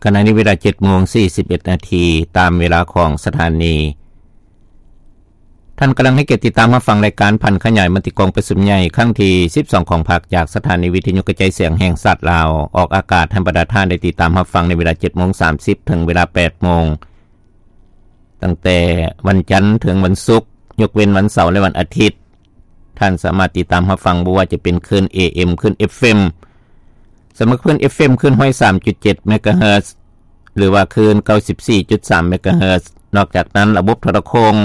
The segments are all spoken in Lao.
ຂະນະນີ້ເວລາເຈັດໂມງສີ່ສິບເອັດນາທີ ຕາມເວລາຂອງສະຖານີ. ທ່ານກຳລັງໃຫ້ກຽດຕິດຕາມຮັບຟັງລາຍການຜັນຂະຫຍາຍມະຕິກອງປະຊຸມໃຫຍ່ຄັ້ງທີສິບສອງຂອງພັກ ຈາກສະຖານີວິທະຍຸກະຈາຍສຽງແຫ່ງຊາດລາວ, ອອກອາກາດໃຫ້ບັນດາທ່ານໄດ້ຕິດຕາມຮັບຟັງໃນເວລາເຈັດໂມງສາມສິບ ເຖິງເວລາແປດໂມງ. ຕັ້ງແຕ່ວັນຈັນເຖິງວັນສຸກ, ຍົກເວັ້ນວັນເສົາ ແລະ ວັນອາທິດ, ທ່ານສາມາດຕິດຕາມຮັບຟັງ ບໍ່ວ່າຈະເປັນຄື້ນ ເອເອັມ, ຄື້ນ ເອັຟເອັມ, ສຳລັບຄື້ນ ເອັຟເອັມ ຄື້ນຮ້ອຍສາມຈຸດເຈັດເມກະເຮີດ ຫຼືວ່າຄື້ນເກົ້າສິບສີ່ຈຸດສາມເມກະເຮີດ. ນອກຈາກນັ້ນ, ລະບົບໂທລະໂຄ່ງ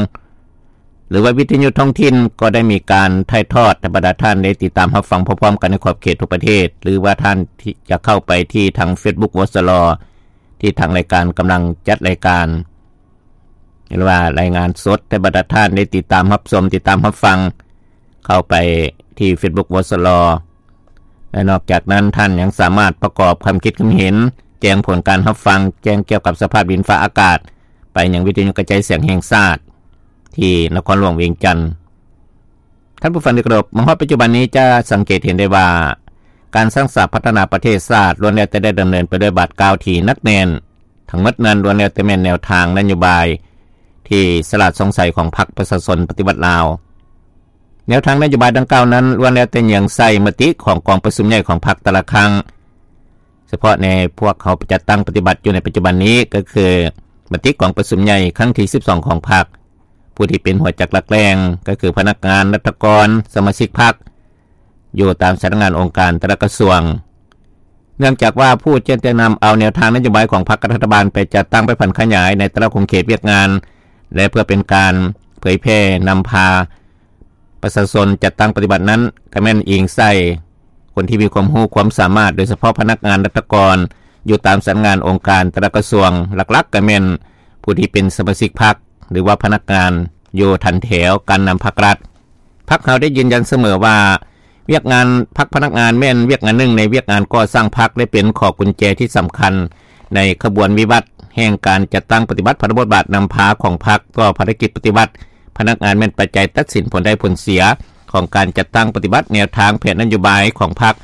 ຫຼືວ່າວິທະຍຸທ້ອງຖິ່ນ ກໍໄດ້ມີການຖ່າຍທອດໃຫ້ບັນດາທ່ານໄດ້ຕິດຕາມຮັບຟັງພ້ອມໆກັນໃນຂອບເຂດທົ່ວປະເທດ ຫຼືວ່າທ່ານທີ່ຈະເຂົ້າໄປທີ່ທາງເຟສບຸກ ວສລ ທີ່ທາງລາຍການກຳລັງຈັດລາຍການ ຫຼືວ່າລາຍງານສົດໃຫ້ບັນດາທ່ານໄດ້ຕິດຕາມຮັບຊົມ, ຕິດຕາມຮັບຟັງ ເຂົ້າໄປທີ່ເຟສບຸກ ວສລ ແລະ ນອກຈາກນັ້ນ ທ່ານຍັງສາມາດປະກອບຄຳຄິດຄຳເຫັນ, ແຈ້ງຜົນການຮັບຟັງ, ແຈ້ງກ່ຽວກັບສະພາບດິນຟ້າອາກາດ ໄປຍັງວິທະຍຸກະຈາຍສຽງແຫ່ງຊາດ ທີ່ນະຄອນຫຼວງວຽງຈັນ. ທ່ານຜູ້ຟັງທີ່ເຄົາລົບ, ມາຮອດປັດຈຸບັນນີ້ຈະສັງເກດເຫັນໄດ້ວ່າ ການສ້າງສາພັດທະນາປະເທດຊາດ ລ້ວນແລ້ວແຕ່ໄດ້ດຳເນີນໄປດ້ວຍບາດກ້າວທີ່ໜັກແໜ້ນ. ທັງໝົດນັ້ນລ້ວນແລ້ວແຕ່ແມ່ນແນວທາງນະໂຍບາຍທີ່ສະຫຼາດຊ່ອງໃສຂອງພັກປະຊາຊົນປະຕິວັດລາວ. ແນວທາງນະໂຍບາຍດັ່ງກ່າວນັ້ນ ລ້ວນແລ້ວແຕ່ເຍືອງໃສ່ມະຕິຂອງກອງປະຊຸມໃຫຍ່ຂອງພັກແຕ່ລະຄັ້ງ. ສະເພາະໃນພວກເຮົາຈັດຕັ້ງປະຕິບັດຢູ່ໃນປັດຈຸບັນນີ້ ກໍຄືມະຕິກອງປະຊຸມໃຫຍ່ຄັ້ງທີສິບສອງຂອງພັກ. ຜູ້ທີ່ເປັນຫົວຈັກຫຼັກແຫຼ່ງ ກໍຄືພະນັກງານ, ລັດຖະກອນ, ສະມາຊິກພັກ ຢູ່ຕາມສຳນັກງານອົງການແຕ່ລະກະຊວງ. ເນື່ອງຈາກວ່າຜູ້ຈະແນະນຳເອົາແນວທາງນະໂຍບາຍຂອງພັກກັບລັດຖະບານໄປຈັດຕັ້ງ, ໄປຜັນຂະຫຍາຍໃນແຕ່ລະຂົງເຂດວຽກງານ ແລະ ເພື່ອເປັນການເຜີຍແຜ່ນຳພາປະຊາຊົນຈັດຕັ້ງປະຕິບັດນັ້ນ ກໍແມ່ນອີງໃສ່ຄົນທີ່ມີຄວາມຮູ້ຄວາມສາມາດ, ໂດຍສະເພາະພະນັກງານ, ລັດຖະກອນ ຢູ່ຕາມສຳນັກງານອົງການແຕ່ລະກະຊວງ, ຫຼັກໆກໍແມ່ນຜູ້ທີ່ເປັນສະມາຊິກພັກ ຫຼືວ່າພະນັກງານຢູ່ຖັນແຖວການນຳພັກລັດ. ພັກເຮົາໄດ້ຢືນຢັນສະເໝີວ່າ ວຽກງານພັກພະນັກງານແມ່ນວຽກງານໜຶ່ງໃນວຽກງານກໍ່ສ້າງພັກ ແລະ ເປັນຂໍ້ກຸນແຈທີ່ສຳຄັນໃນຂະບວນວິວັດແຫ່ງການຈັດຕັ້ງປະຕິບັດພາລະບົດບາດນຳພາຂອງພັກຕໍ່ພາລະກິດປະຕິວັດພະນັກງານ ແມ່ນປັດໄຈຕັດສິນຜົນໄດ້ຜົນເສຍຂອງການຈັດຕັ້ງປະຕິບັດແນວທາງແຜນນະໂຍບາຍຂອງພັກ.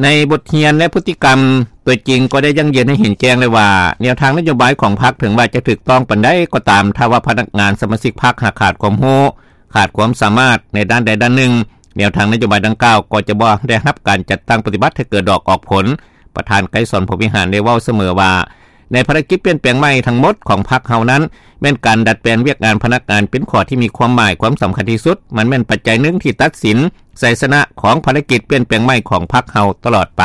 ໃນບົດຮຽນ ແລະ ພຶດຕິກຳຕົວຈິງກໍໄດ້ຢັ້ງຢືນໃຫ້ເຫັນແຈ້ງແລ້ວວ່າ ແນວທາງນະໂຍບາຍຂອງພັກ ເຖິງວ່າຈະຖືກຕ້ອງປານໃດກໍຕາມ, ຖ້າວ່າພະນັກງານສະມາຊິກພັກຫາກຂາດຄວາມຮູ້, ຂາດຄວາມສາມາດໃນດ້ານໃດດ້ານໜຶ່ງ, ແນວທາງນະໂຍບາຍດັ່ງກ່າວກໍຈະບໍ່ໄດ້ຮັບການຈັດຕັ້ງປະຕິບັດໃຫ້ເກີດດອກອອກຜົນ. ປະທານໄກສອນ ພົມວິຫານ ໄດ້ເວົ້າສະເໝີວ່າ ໃນພາລະກິດປ່ຽນແປງໃໝ່ທັງໝົດຂອງພັກເຮົານັ້ນ ແມ່ນການດັດແປງວຽກງານພະນັກງານເປັນຂໍ້ທີ່ມີຄວາມໝາຍຄວາມສຳຄັນທີ່ສຸດ. ມັນແມ່ນປັດໄຈໜຶ່ງທີ່ຕັດສິນໄຊຊະນະຂອງພາລະກິດປ່ຽນແປງໃໝ່ຂອງພັກເຮົາຕະຫຼອດໄປ.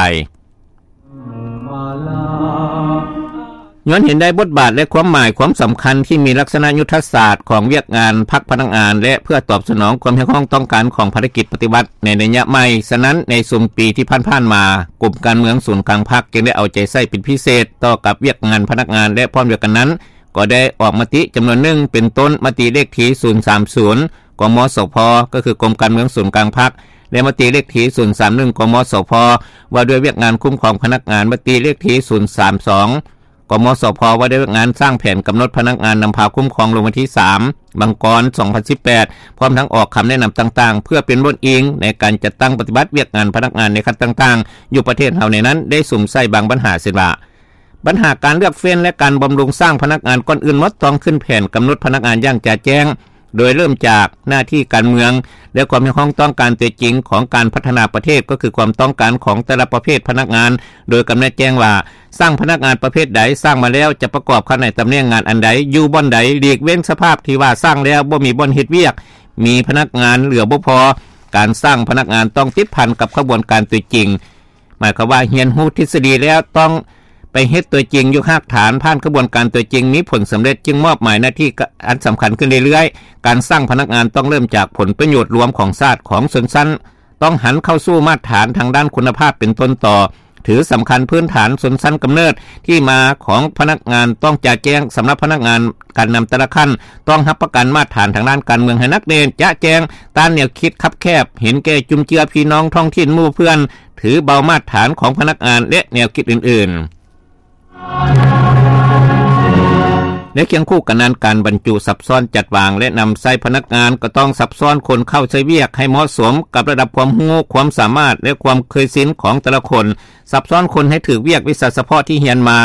ຍ້ອນເຫັນໄດ້ບົດບາດ ແລະ ຄວາມໝາຍຄວາມສຳຄັນທີ່ມີລັກສະນະຍຸດທະສາດຂອງວຽກງານພັກພະນັກງານ ແລະ ເພື່ອຕອບສະໜອງຄວາມຮຽກຮ້ອງຕ້ອງການຂອງພາລະກິດປະຕິວັດໃນໄລຍະໃໝ່, ສະນັ້ນ ໃນຊຸມປີທີ່ຜ່ານໆມາ, ກົມການເມືອງສູນກາງພັກຈຶ່ງໄດ້ເອົາໃຈໃສ່ເປັນພິເສດຕໍ່ກັບວຽກງານພະນັກງານ ແລະ ພ້ອມດຽວກັນນັ້ນ ກໍໄດ້ອອກມະຕິຈຳນວນໜຶ່ງ ເປັນຕົ້ນ ມະຕິເລກທີສູນສາມສູນ ກມສພ ກໍຄືກົມການເມືອງສູນກາງພັກ ແລະ ມະຕິເລກທີສູນສາມໜຶ່ງ ກມສພ ວ່າດ້ວຍວຽກງານຄຸ້ມຄອງພະນັກງານ, ມະຕິເລກທີສູນສາມສອງ ກມສພ ວ່າດ້ວຍວຽກງານສ້າງແຜນກຳນົດພະນັກງານນຳພາຄຸ້ມຄອງ ລົງວັນທີສາມ ມັງກອນ ສອງພັນສິບແປດ ພ້ອມທັງອອກຄຳແນະນຳຕ່າງໆ ເພື່ອເປັນບ່ອນອີງໃນການຈັດຕັ້ງປະຕິບັດວຽກງານພະນັກງານໃນຂັ້ນຕ່າງໆ ຢູ່ປະເທດເຮົາໃນນັ້ນ ໄດ້ສຸມໃສ່ບາງບັນຫາ ເຊັ່ນວ່າ ບັນຫາການເລືອກເຟ້ນ ແລະ ການບຳລຸງສ້າງພະນັກງານ ກ່ອນອື່ນໝົດຕ້ອງຂຶ້ນແຜນກຳນົດພະນັກງານຢ່າງຈະແຈ້ງ, ໂດຍເລີ່ມຈາກໜ້າທີ່ການເມືອງ ແລະ ຄວາມຮຽກຮ້ອງຕ້ອງການຕົວຈິງຂອງການພັດທະນາປະເທດ, ກໍຄືຄວາມຕ້ອງການຂອງແຕ່ລະປະເພດພະນັກງານ, ໂດຍກຳນົດແຈ້ງວ່າ ສ້າງພະນັກງານປະເພດໃດສ້າງມາແລ້ວ ຈະປະກອບເຂົ້າໃນຕຳແໜ່ງງານອັນໃດ, ຢູ່ບ່ອນໃດ, ຫຼີກເວັ້ນສະພາບທີ່ວ່າສ້າງແລ້ວບໍ່ມີບ່ອນເຮັດວຽກ, ມີພະນັກງານເຫຼືອບໍ່ພໍ, ການສ້າງພະນັກງານຕ້ອງຕິດພັນກັບຂະບວນການຕົວຈິງ. ໝາຍຄວາມວ່າຮຽນຮູ້ທິດສະດີແລ້ວ ຕ້ອງໄປເຮັດຕົວຈິງຢູ່ຮາກຖານ, ຜ່ານຂະບວນການຕົວຈິງ ມີຜົນສຳເລັດ ຈຶ່ງມອບໝາຍໜ້າທີ່ອັນສຳຄັນຂຶ້ນເລື້ອຍໆ. ການສ້າງພະນັກງານຕ້ອງເລີ່ມຈາກຜົນປະໂຫຍດລວມຂອງຊາດ, ຂອງຊົນຊັ້ນ, ຕ້ອງຫັນເຂົ້າສູ່ມາດຖານທາງດ້ານຄຸນນະພາບເປັນຕົ້ນຕໍ, ຖືສຳຄັນພື້ນຖານຊົນຊັ້ນກຳເນີດ, ທີ່ມາຂອງພະນັກງານຕ້ອງຈະແຈ້ງ, ສຳລັບພະນັກງານ ການນຳແຕ່ລະຂັ້ນ ຕ້ອງຮັບປະກັນມາດຖານທາງດ້ານການເມືອງໃຫ້ໜັກແໜ້ນ, ຈະແຈ້ງ, ຕ້ານແນວຄິດຄັບແຄບ, ເຫັນແກ່ຈຸນເຈືອພີ່ນ້ອງທ້ອງຖິ່ນໝູ່ເພື່ອນ, ຖືເບົາມາດຖານຂອງພະນັກງານ ແລະ ແນວຄິດອື່ນໆ. ແລະ ຄຽງຄູ່ກັນນັ້ນ ການບັນຈຸສັບຊ້ອນຈັດວາງ ແລະ ນຳໃຊ້ພະນັກງານ ກໍຕ້ອງສັບຊ້ອນຄົນເຂົ້າໃຊ້ວຽກໃຫ້ເໝາະສົມກັບລະດັບຄວາມຮູ້, ຄວາມສາມາດ ແລະ ຄວາມເຄີຍຊິນຂອງແຕ່ລະຄົນ, ສັບຊ້ອນຄົນໃຫ້ຖືກວຽກວິຊາສະເພາະທີ່ຮຽນມາ,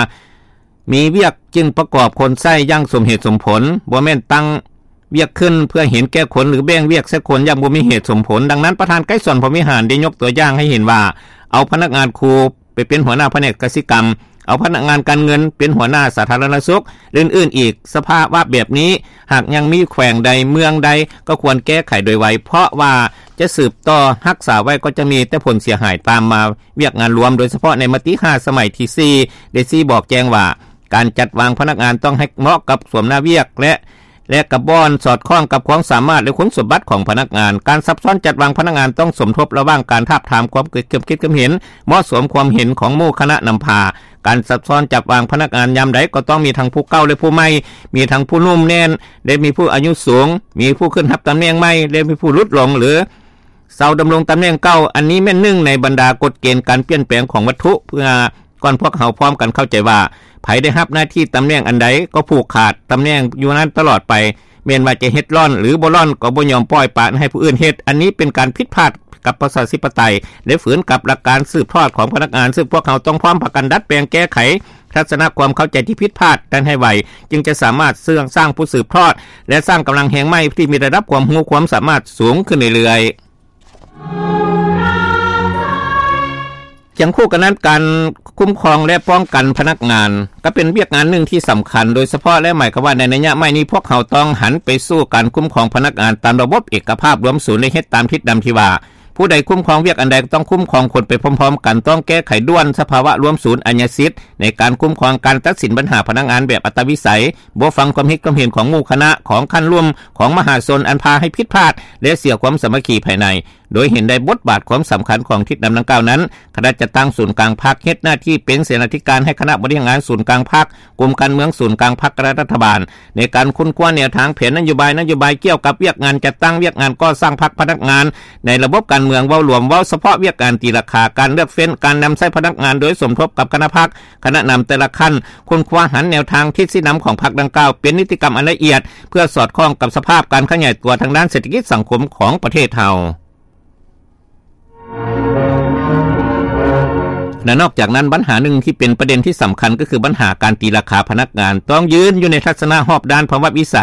ມີວຽກຈຶ່ງປະກອບຄົນໃຊ້ຢ່າງສົມເຫດສົມຜົນ, ບໍ່ແມ່ນຕັ້ງວຽກຂຶ້ນເພື່ອເຫັນແກ່ຄົນ ຫຼື ແບ່ງວຽກໃສ່ຄົນຢ່າງບໍ່ມີເຫດສົມຜົນ. ດັ່ງນັ້ນ ປະທານໄກສອນ ພົມວິຫານ ໄດ້ຍົກຕົວຢ່າງໃຫ້ເຫັນວ່າ ເອົາພະນັກງານຄູ ໄປເປັນຫົວໜ້າພະແນກກະສິກຳ, ເອົາພະນັກງານການເງິນເປັນຫົວໜ້າສາທາລະນະສຸກ ແລະ ອື່ນໆອີກ. ສະພາວະແບບນີ້ ຫາກຍັງມີແຂວງໃດເມືອງໃດ ກໍຄວນແກ້ໄຂໂດຍໄວ, ເພາະວ່າຈະສືບຕໍ່ຮັກສາໄວ້ ກໍຈະມີແຕ່ຜົນເສຍຫາຍຕາມມາ. ວຽກງານລວມ ໂດຍສະເພາະໃນມະຕິຫ້າສະໄໝທີສີ່ ໄດ້ຊີ້ບອກແຈ້ງວ່າ ການຈັດວາງພະນັກງານຕ້ອງໃຫ້ເໝາະກັບສວມໜ້າວຽກ ແລະ ແລະ ກະບ່ອນສອດຄ່ອງກັບຄວາມສາມາດ ແລະ ຄຸນສົມບັດຂອງພະນັກງານ. ການສັບຊ້ອນຈັດວາງພະນັກງານຕ້ອງສົມທົບລະຫວ່າງການທາບທາມຄວາມຄິດຄວາມເຫັນເໝາະສົມ, ຄວາມເຫັນຂອງໝູ່ຄະນະນຳພາ. ການສັບຊ້ອນຈັດວາງພະນັກງານຍາມໃດກໍຕ້ອງມີທັງຜູ້ເກົ່າ ແລະ ຜູ້ໃໝ່, ມີທັງຜູ້ໜຸ່ມແໜ້ນ ແລະ ມີຜູ້ອາຍຸສູງ, ມີຜູ້ຂຶ້ນຮັບຕຳແໜ່ງໃໝ່ ແລະ ມີຜູ້ຫຼຸດລົງ ຫຼື ເຊົາດຳລົງຕຳແໜ່ງເກົ່າ. ອັນນີ້ແມ່ນໜຶ່ງໃນບັນດາກົດເກນການປ່ຽນແປງຂອງວັດຖຸ ເພື່ອ ກ່ອນພວກເຮົາພ້ອມກັນເຂົ້າໃຈວ່າ ໃຜໄດ້ຮັບໜ້າທີ່ຕຳແໜ່ງອັນໃດກໍຜູກຂາດຕຳແໜ່ງຢູ່ນັ້ນຕະຫຼອດໄປ, ແມ່ນວ່າຈະເຮັດລ່ອນ ຫຼື ບໍ່ລ່ອນກໍບໍ່ຍອມປ່ອຍປະໃຫ້ຜູ້ອື່ນເຮັດ. ອັນນີ້ເປັນການຜິດພາດກັບປະຊາທິປະໄຕ ແລະ ຝືນກັບຫຼັກການສືບທອດຂອງພະນັກງານ, ຊຶ່ງພວກເຮົາຕ້ອງພ້ອມພາກັນດັດແປງແກ້ໄຂທັດສະນະຄວາມເຂົ້າໃຈທີ່ຜິດພາດນັ້ນໃຫ້ໄວ, ຈຶ່ງຈະສາມາດສ້າງ ສ້າງຜູ້ສືບທອດ ແລະ ສ້າງກຳລັງແຮງໃໝ່ທີ່ມີລະດັບຄວາມຮູ້ຄວາມສາມາດສູງຂຶ້ນເລື້ອຍໆ. ຄຽງຄູ່ກັນນັ້ນ ການຄຸ້ມຄອງ ແລະ ປ້ອງກັນພະນັກງານ ກໍເປັນວຽກງານໜຶ່ງທີ່ສຳຄັນ ໂດຍສະເພາະ ແລະ ໝາຍຄວາມວ່າໃນໄລຍະໃໝ່ນີ້ ພວກເຮົາຕ້ອງຫັນໄປສູ່ການຄຸ້ມຄອງພະນັກງານຕາມລະບົບເອກະພາບລວມສູນ ແລະ ເຮັດຕາມທິດນຳທີ່ວ່າ ຜູ້ໃດຄຸ້ມຄອງວຽກອັນໃດ ຕ້ອງຄຸ້ມຄອງຄົນໄປພ້ອມໆກັນ, ຕ້ອງແກ້ໄຂດ່ວນສະພາວະລວມສູນອາຍາສິດ ໃນການຄຸ້ມຄອງການຕັດສິນບັນຫາພະນັກງານແບບອັດຕະວິໄສ, ບໍ່ຟັງຄວາມຄິດຄວາມເຫັນຂອງໝູ່ຄະນະ, ຂອງຂັ້ນລຸ່ມ, ຂອງມະຫາຊົນ ອັນພາໃຫ້ຜິດພາດ ແລະ ເສຍຄວາມສາມັກຄີພາຍໃນ. ໂດຍເຫັນໄດ້ບົດບາດຄວາມສຳຄັນຂອງທິດນຳດັ່ງກ່າວນັ້ນ, ຄະນະຈັດຕັ້ງສູນກາງພັກເຮັດໜ້າທີ່ເປັນເສນາທິການໃຫ້ຄະນະບໍລິຫານງານສູນກາງພັກ, ກົມການເມືອງສູນກາງພັກ ແລະ ລັດຖະບານ ໃນການຄົ້ນຄວ້າແນວທາງແຜນນະໂຍບາຍ, ນະໂຍບາຍກ່ຽວກັບວຽກງານຈັດຕັ້ງ, ວຽກງານກໍ່ສ້າງພັກ, ພະນັກງານໃນລະບົບການເມືອງເວົ້າລວມ, ເວົ້າສະເພາະວຽກງານຕີລາຄາ, ການເລືອກເຟ້ນ, ການນຳໃຊ້ພະນັກງານໂດຍສົມທົບກັບຄະນະພັກ, ຄະນະນຳແຕ່ລະຂັ້ນ, ຄົ້ນຄວ້າຫັນແນວທາງທິດຊີ້ນຳຂອງພັກດັ່ງກ່າວເປັນນິຕິກຳອັນລະອຽດ ເພື່ອສອດຄ່ອງກັບສະພາບການຂະຫຍາຍຕົວທາງດ້ານເສດຖະກິດສັງຄົມຂອງປະເທດເຮົາ. ແລະ ນອກຈາກນັ້ນ ບັນຫາໜຶ່ງທີ່ເປັນປະເດັນທີ່ສຳຄັນ ກໍຄືບັນຫາການຕີລາຄາພະນັກງານ ຕ້ອງຢືນຢູ່ໃນທັດສະນະຮອບດ້ານພາວະວິໄສ,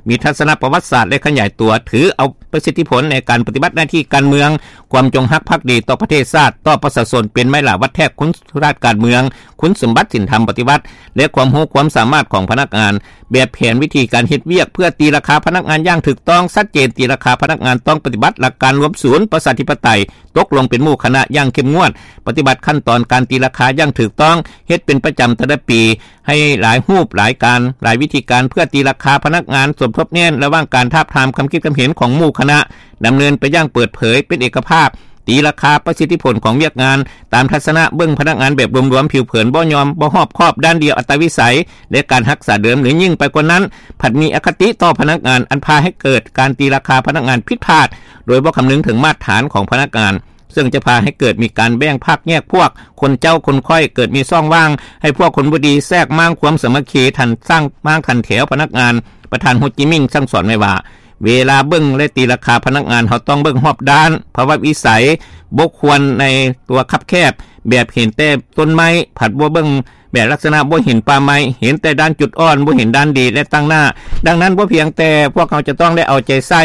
ມີທັດສະນະປະຫວັດສາດ ແລະ ຂະຫຍາຍຕົວ, ຖືເອົາປະສິດທິຜົນໃນການປະຕິບັດໜ້າທີ່ການເມືອງ, ຄວາມຈົງຮັກພັກດີຕໍ່ປະເທດຊາດ, ຕໍ່ປະຊາຊົນ ເປັນໄມ້ຫຼາວັດແທກຄຸນສະມບັດການເມືອງ, ຄຸນສົມບັດສິນທຳປະຕິວັດ ແລະ ຄວາມຮູ້ຄວາມສາມາດຂອງພະນັກງານ ແບບແຜນວິທີການເຮັດວຽກເພື່ອຕີລາຄາພະນັກງານຢ່າງຖືກຕ້ອງ, ຊັດເຈນ, ຕີລາຄາພະນັກງານຕ້ອງປະຕິບັດຫຼັກການລວມສູນປະຊາທິປະໄຕ, ຕົກລົງເປັນໝູ່ຄະນະຢ່າງເຂັ້ມງວດ, ປະຕິບັດຂັ້ນຕອນການຕີລາຄາຢ່າງຖືກຕ້ອງ, ເຮັດເປັນປະຈຳແຕ່ລະປີ ໃຫ້ຫຼາຍຮູບ, ຫຼາຍການ, ຫຼາຍວິທີການ ເພື່ອຕີລາຄາພະນັກງານ, ສົມທົບແໜ້ນລະຫວ່າງການທາບທາມຄຳຄິດຄຳເຫັນຂອງໝູ່ຄະນະ, ດຳເນີນໄປຢ່າງເປີດເຜີຍ, ເປັນເອກະພາບ, ຕີລາຄາປະສິດທິຜົນຂອງວຽກງານ ຕາມທັດສະນະເບິ່ງພະນັກງານແບບລວມໆ, ຜິວເຜີນ, ບໍ່ຍອມ, ບໍ່ຮອບຄອບ, ດ້ານດຽວ, ອັດຕະວິໄສ ແລະ ການຮັກສາເດີມ ຫຼື ຍິ່ງໄປກວ່ານັ້ນ ພັດມີອະຄະຕິຕໍ່ພະນັກງານ ອັນພາໃຫ້ເກີດການຕີລາຄາພະນັກງານຜິດພາດ ໂດຍບໍ່ຄຳນຶງເຖິງມາດຖານຂອງພະນັກງານ ເຊິ່ງຈະພາໃຫ້ເກີດມີການແບ່ງພັກແຍກພວກ, ຄົນເຈົ້າຄົນຂ້ອຍ, ເກີດມີຊ່ອງວ່າງໃຫ້ພວກຄົນບໍ່ດີແຊກມ້າງຄວາມສາມັກຄີ, ທັນສ້າງມ້າງທັນແຖວພະນັກງານ. ປະທານໂຮຈິມິນສັ່ງສອນໄວ້ວ່າ ເວລາເບິ່ງ ແລະ ຕີລາຄາພະນັກງານ ເຮົາຕ້ອງເບິ່ງຮອບດ້ານ, ພາວະວິໄສ, ບໍ່ຄວນໃນຕົວຄັບແຄບ, ແບບເຫັນແຕ່ຕົ້ນໄມ້, ພັດບໍ່ເບິ່ງ ແບບລັກສະນະບໍ່ເຫັນປ່າໄມ້, ເຫັນແຕ່ດ້ານຈຸດອ່ອນ, ບໍ່ເຫັນດ້ານດີ ແລະ ຕັ້ງໜ້າ. ດັ່ງນັ້ນ ບໍ່ພຽງແຕ່ພວກເຮົາຈະຕ້ອງໄດ້ເອົາໃຈໃສ່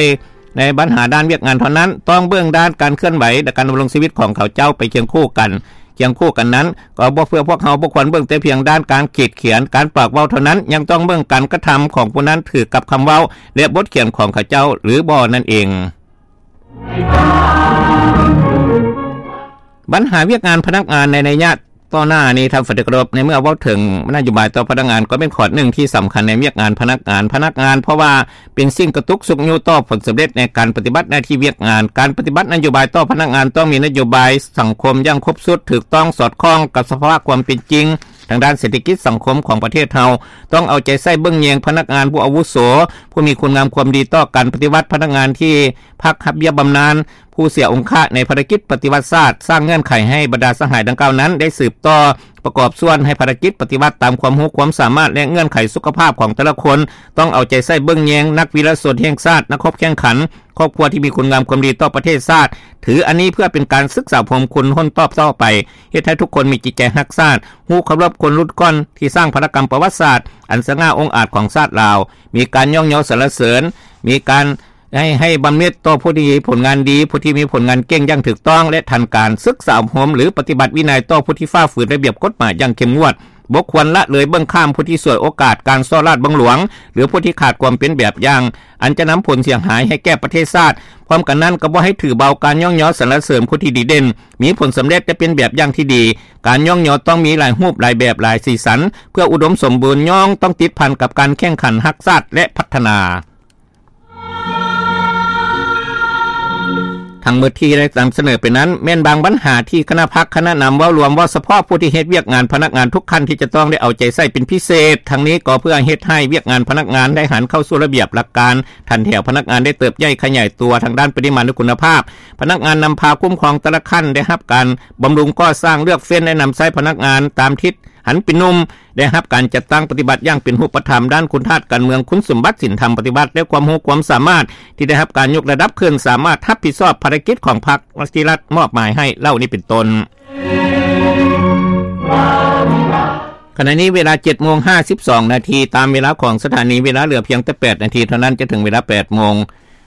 ໃນບັນຫາດ້ານວຽກງານເທົ່ານັ້ນ, ຕ້ອງເບິ່ງດ້ານການເຄື່ອນໄຫວ ແລະ ການດຳລົງຊີວິດຂອງເຂົາເຈົ້າໄປຄຽງຄູ່ກັນ. ຄຽງຄູ່ກັນນັ້ນ, ກໍບໍ່ເພື່ອພວກເຮົາບໍ່ຄວນເບິ່ງແຕ່ພຽງດ້ານການຂີດຂຽນ, ການປາກເວົ້າເທົ່ານັ້ນ, ຍັງຕ້ອງເບິ່ງການກະທຳຂອງຜູ້ນັ້ນຖືກັບຄຳເວົ້າ ແລະ ບົດຂຽນຂອງເຂົາເຈົ້າ ຫຼື ບໍ່ນັ້ນເອງ. ບັນຫາວຽກງານພະນັກງານໃນໄລຍະຕໍ່ໜ້ານີ້ ທ່ານປະທານທີ່ເຄົາລົບ, ໃນເມື່ອເວົ້າເຖິງນະໂຍບາຍຕໍ່ພະນັກງານ ກໍເປັນຂໍ້ໜຶ່ງທີ່ສຳຄັນໃນວຽກງານພະນັກງານ, ພະນັກງານ ເພາະວ່າເປັນສິ່ງກະຕຸກຊຸກຍູ້ຕໍ່ຜົນສຳເລັດໃນການປະຕິບັດໜ້າທີ່ວຽກງານ. ການປະຕິບັດນະໂຍບາຍຕໍ່ພະນັກງານຕ້ອງມີນະໂຍບາຍສັງຄົມຢ່າງຄົບຊຸດ, ຖືກຕ້ອງ, ສອດຄ່ອງກັບສະພາວະຄວາມເປັນຈິງທາງດ້ານເສດຖະກິດສັງຄົມຂອງປະເທດເຮົາ, ຕ້ອງເອົາໃຈໃສ່ເບິ່ງແຍງພະນັກງານຜູ້ອາວຸໂສ, ຜູ້ມີຄຸນງາມຄວາມດີຕໍ່ການປະຕິວັດ, ພະນັກງານທີ່ ພັກຮັບເບ້ຍບຳນານ, ຜູ້ເສຍອົງຄະໃນພາລະກິດປະຕິວັດຊາດ, ສ້າງເງື່ອນໄຂໃຫ້ບັນດາສະຫາຍດັ່ງກ່າວນັ້ນໄດ້ສືບຕໍ່ປະກອບສ່ວນໃຫ້ພາລະກິດປະຕິວັດຕາມຄວາມຮູ້ຄວາມສາມາດ ແລະ ເງື່ອນໄຂສຸຂະພາບຂອງແຕ່ລະຄົນ, ຕ້ອງເອົາໃຈໃສ່ເບິ່ງແຍງນັກວິລະຊົນແຫ່ງຊາດ, ນັກຮົບແຂ່ງຂັນ, ຄອບຄົວທີ່ມີຄຸນງາມຄວາມດີຕໍ່ປະເທດຊາດ, ຖືອັນນີ້ເພື່ອເປັນການສຶກສາອົບຮົມຄົນຮຸ່ນຕໍ່ໆໄປ, ເຮັດໃຫ້ທຸກຄົນມີຈິດໃຈຮັກຊາດ, ຮູ້ເຄົາລົບຄົນລຸ້ນກ່ອນທີ່ສ້າງພາລະກຳປະຫວັດສາດອັນສະຫງ່າອົງອາດຂອງຊາດລາວ, ມີການຍ້ອງຍໍສັນລະເສີນ, ມີການ ໃຫ້ ໃຫ້ບຳເນັດຕໍ່ຜູ້ທີ່ມີຜົນງານດີ, ຜູ້ທີ່ມີຜົນງານເກັ່ງຢ່າງຖືກຕ້ອງ ແລະ ທັນການ, ສຶກສາອົບຮົມ ຫຼື ປະຕິບັດວິໄນຕໍ່ຜູ້ທີ່ຝ່າຝືນລະບຽບກົດໝາຍຢ່າງເຂັ້ມງວດ, ບໍ່ຄວນລະເລີຍເບິ່ງຂ້າມຜູ້ທີ່ສວຍໂອກາດການສໍ້ລາດບັງຫຼວງ ຫຼື ຜູ້ທີ່ຂາດຄວາມເປັນແບບຢ່າງ ອັນຈະນຳຜົນເສຍຫາຍໃຫ້ແກ່ປະເທດຊາດ. ພ້ອມກັນນັ້ນ ກໍບໍ່ໃຫ້ຖືເບົາການຍ້ອງຍໍສັນລະເສີນຜູ້ທີ່ດີເດັ່ນ, ມີຜົນສຳເລັດ ແລະ ເປັນແບບຢ່າງທີ່ດີ. ການຍ້ອງຍໍຕ້ອງມີຫຼາຍຮູບ, ຫຼາຍແບບ, ຫຼາຍສີສັນ, ເພື່ອອຸດົມສົມບູນ, ຍ້ອງຕ້ອງຕິດພັນກັບການແຂ່ງຂັນຮັກຊາດ ແລະ ພັດທະນາ. ທັງໝົດທີ່ໄດ້ນຳສະເໜີໄປນັ້ນ ແມ່ນບາງບັນຫາທີ່ຄະນະພັກ, ຄະນະນຳເວົ້າລວມ, ເວົ້າສະເພາະຜູ້ທີ່ເຮັດວຽກງານພະນັກງານທຸກຂັ້ນທີ່ຈະຕ້ອງໄດ້ເອົາໃຈໃສ່ເປັນພິເສດ. ທັງນີ້ກໍເພື່ອເຮັດໃຫ້ວຽກງານພະນັກງານໄດ້ຫັນເຂົ້າສູ່ລະບຽບຫຼັກການ, ຖັນແຖວພະນັກງານໄດ້ເຕີບໃຫຍ່ຂະຫຍາຍຕົວທາງດ້ານປະລິມານ ແລະ ຄຸນນະພາບ. ພະນັກງານນຳພາຄຸ້ມຄອງແຕ່ລະຂັ້ນໄດ້ຮັບການບຳລຸງກໍ່ສ້າງ, ເລືອກເຟັ້ນ ແລະ ນຳໃຊ້ພະນັກງານຕາມທິດ ຫັນເປັນໜຸ່ມ, ໄດ້ຮັບການຈັດຕັ້ງປະຕິບັດຢ່າງເປັນຮູບປະທຳດ້ານຄຸນທາດການເມືອງ, ຄຸນສົມບັດສິນທຳປະຕິວັດ ແລະ ຄວາມຮູ້ຄວາມສາມາດທີ່ໄດ້ຮັບການຍົກລະດັບຂຶ້ນ, ສາມາດຮັບຜິດຊອບພາລະກິດຂອງພັກທີ່ລັດມອບໝາຍໃຫ້ເຫຼົ່ານີ້ເປັນຕົ້ນ. ຂະນະນີ້ເວລາເຈັດໂມງຫ້າສິບສອງນາທີ ຕາມເວລາຂອງສະຖານີ, ເວລາເຫຼືອພຽງແຕ່ແປດນາທີເທົ່ານັ້ນຈະເຖິງເວລາແປດໂມງ.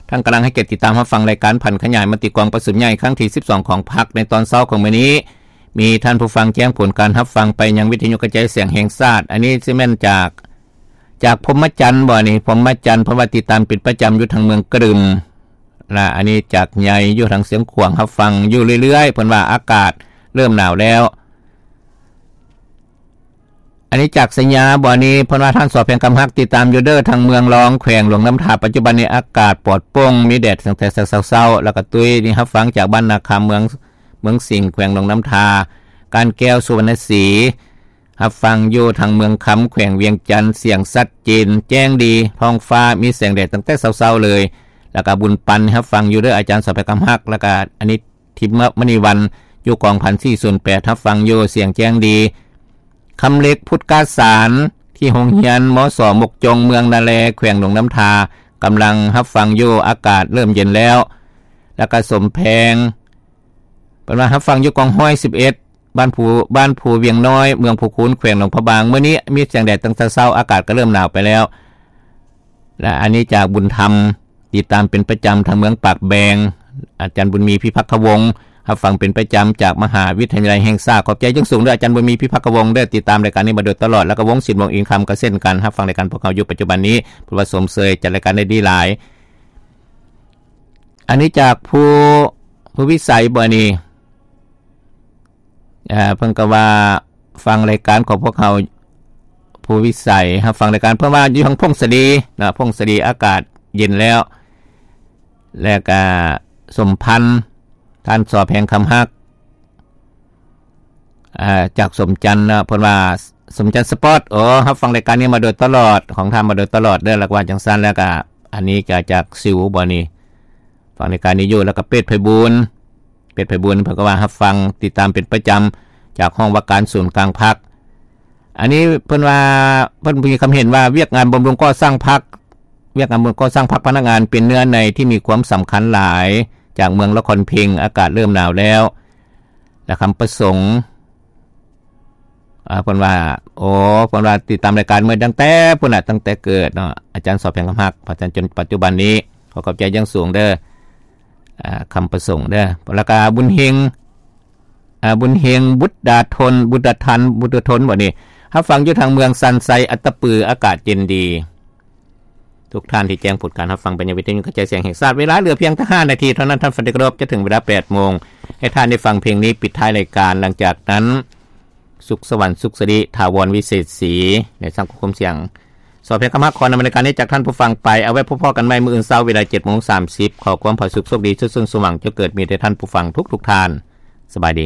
ທ່ານກຳລັງໃຫ້ກຽດຕິດຕາມຮັບຟັງລາຍການຜັນຂະຫຍາຍມະຕິກອງປະຊຸມໃຫຍ່ຄັ້ງທີສິບສອງຂອງພັກໃນຕອນເຊົ້າຂອງມື້ນີ້. ມີທ່ານຜູ້ຟັງແຈ້ງຜົນການຮັບຟັງໄປຍັງວິທະຍຸກະຈາຍສຽງແຫ່ງຊາດ. ອັນນີ້ຊິແມ່ນຈາກ ຈາກພົມມະຈັນບໍນີ້? ພົມມະຈັນ ເພາະວ່າຕິດຕາມເປັນປະຈຳຢູ່ທາງເມືອງກະດຶມ ລະອັນນີ້ຈາກໃຫຍ່ຢູ່ທາງຊຽງຂວາງ ຮັບຟັງຢູ່ເລື້ອຍໆ, ເພິ່ນວ່າອາກາດເລີ່ມໜາວແລ້ວ. ອັນນີ້ຈາກໄຊຍາບໍນີ້? ເພິ່ນວ່າທ່ານ ສອ ແພງຄຳຮັກ ຕິດຕາມຢູ່ເດີ ທາງເມືອງລອງ ແຂວງຫຼວງນ້ຳທາ, ປັດຈຸບັນນີ້ອາກາດປອດໂປ່ງ ມີແດດຕັ້ງແຕ່ເຊົ້າໆ ແລ້ວກໍຕຸ້ຍນີ້ຮັບຟັງຈາກບ້ານນາຄຳ ເມືອງ ເມືອງສິງ ແຂວງຫຼວງນ້ຳທາ, ການແກ້ວ ສຸວັນນະສີ ຮັບຟັງຢູ່ທາງເມືອງຄຳ ແຂວງວຽງຈັນ, ສຽງຊັດເຈນແຈ້ງດີ, ທ້ອງຟ້າມີແສງແດດຕັ້ງແຕ່ເຊົ້າໆເລີຍ. ແລ້ວກໍບຸນປັນ ຮັບຟັງຢູ່ເດີ ອາຈານ ສອ ແພງຄຳຮັກ, ແລ້ວກໍອັນນີ້ ທິບມະນີວັນ ຢູ່ກອງພັນສີ່ສູນແປດ ຮັບຟັງຢູ່ ສຽງແຈ້ງດີ. ຄຳເລັກ ພຸດກາສານ ທີ່ໂຮງຮຽນ ມສ ມົກຈົງ ເມືອງນາແລ ແຂວງຫຼວງນ້ຳທາ ກຳລັງຮັບຟັງຢູ່ ອາກາດເລີ່ມເຢັນແລ້ວ. ແລ້ວກໍສົມແພງ ເພິ່ນວ່າຮັບຟັງຢູ່ກອງຮ້ອຍສິບເອັດ ບ້ານພູ ບ້ານພູວຽງນ້ອຍ ເມືອງພູຄູນ ແຂວງຫຼວງພະບາງ, ມື້ນີ້ມີແສງແດດຕັ້ງແຕ່ເຊົ້າ ອາກາດກໍເລີ່ມໜາວໄປແລ້ວ. ແລະ ອັນນີ້ຈາກບຸນທຳ ຕິດຕາມເປັນປະຈຳທາງເມືອງປາກແບງ, ອາຈານບຸນມີ ພິພັກຄະວົງ ຮັບຟັງເປັນປະຈຳຈາກມະຫາວິທະຍາໄລແຫ່ງຊາດ. ຂອບໃຈຢ່າງສູງເດີ ອາຈານບຸນມີ ພິພັກຄະວົງເດີ ຕິດຕາມລາຍການນີ້ມາໂດຍຕະຫຼອດ, ແລ້ວກໍວົງສິນ ວົງອິນຄຳກໍເຊັ່ນກັນ ຮັບຟັງລາຍການພວກເຮົາຢູ່ປັດຈຸບັນນີ້, ເພິ່ນວ່າຊົມເຊີຍ ຈັດລາຍການໄດ້ດີຫຼາຍ. ອັນນີ້ຈາກພູ ພູວິໄສບໍນີ້? ເອີ ເພິ່ນກໍວ່າຟັງລາຍການຂອງພວກເຮົາ ພູວິໄສ ຮັບຟັງລາຍການ ເພິ່ນວ່າຢູ່ທາງຜົ້ງສາລີເນາະ, ຜົ້ງສາລີອາກາດເຢັນແລ້ວ. ແລ້ວກະສົມພັນ ທ່ານ ສອ ແພງຄຳຮັກ ເອີ ຈາກສົມຈັນເນາະ, ເພິ່ນວ່າ ສົມຈັນສະປອດ ໂອ້ ຮັບຟັງລາຍການນີ້ມາໂດຍຕະຫຼອດ ຂອງທ່ານມາໂດຍຕະຫຼອດເດີ ແລ້ວກະວ່າຈັ່ງຊັ້ນ. ແລ້ວກະອັນນີ້ກະຈາກຊິວບໍນີ້? ຟັງລາຍການນີ້ຢູ່ ແລ້ວກໍເປດໄພບູນ ເປດໄພບູນ ເພິ່ນກໍວ່າຮັບຟັງຕິດຕາມເປັນປະຈຳຈາກຫ້ອງວ່າການສູນກາງພັກ. ອັນນີ້ເພິ່ນວ່າ ເພິ່ນມີຄຳເຫັນວ່າ ວຽກງານບຳລຸງກໍ່ສ້າງພັກ ວຽກງານບຳລຸງກໍ່ສ້າງພັກພະນັກງານເປັນເນື້ອໃນທີ່ມີຄວາມສຳຄັນຫຼາຍ ຈາກເມືອງລະຄອນເພັງ ອາກາດເລີ່ມໜາວແລ້ວ ແລະ ຄຳປະສົງ ອ່າ ເພິ່ນວ່າ ໂອ້ ເພິ່ນວ່າຕິດຕາມລາຍການມາຕັ້ງແຕ່ພຸ້ນນະ ຕັ້ງແຕ່ເກີດເນາະ ອາຈານ ສອບ ແພງຄຳຮັກ ມາຈົນປັດຈຸບັນນີ້ ຂໍຂອບໃຈຢ່າງສູງເດີ ອ່າ ຄຳປະສົງເດີ ແລ້ວກະບຸນເຮັງ ອ່າ ບຸນເຮັງ ບຸດດາທົນ ບຸດດາທັນ ບຸດດາທົນ ບໍ່ນີ້ ຮັບຟັງຢູ່ທາງເມືອງຊັນໄຊ ອັດຕະປື ອາກາດເຢັນດີ. ທຸກທ່ານທີ່ແຈ້ງຜົນການຮັບຟັງໄປຍັງວິທະຍຸກະຈາຍສຽງແຫ່ງຊາດ ເວລາເຫຼືອພຽງແຕ່ຫ້ານາທີເທົ່ານັ້ນ ທ່ານທີ່ເຄົາລົບ ຈະເຖິງເວລາແປດໂມງ ໃຫ້ທ່ານໄດ້ຟັງເພງນີ້ປິດທ້າຍລາຍການ. ຫຼັງຈາກນັ້ນ ສຸກສະຫວັນ ສຸກສະລິ ຖາວອນ ວິເສດສີ ໃນສັງຄົມສຽງ ສອບ ແພງຄຳຮັກ ຂໍນຳລາຍການນີ້ຈາກທ່ານຜູ້ຟັງໄປ ເອົາໄວ້ພົບພໍ້ກັນໃໝ່ມື້ອື່ນເຊົ້າເວລາເຈັດໂມງສາມສິບ ຂໍຄວາມຜາສຸກໂຊກດີ ສຸກສົມຫວັງ ຈົ່ງເກີດມີແດ່ທ່ານຜູ້ຟັງທຸກໆທ່ານ ສະບາຍດີ.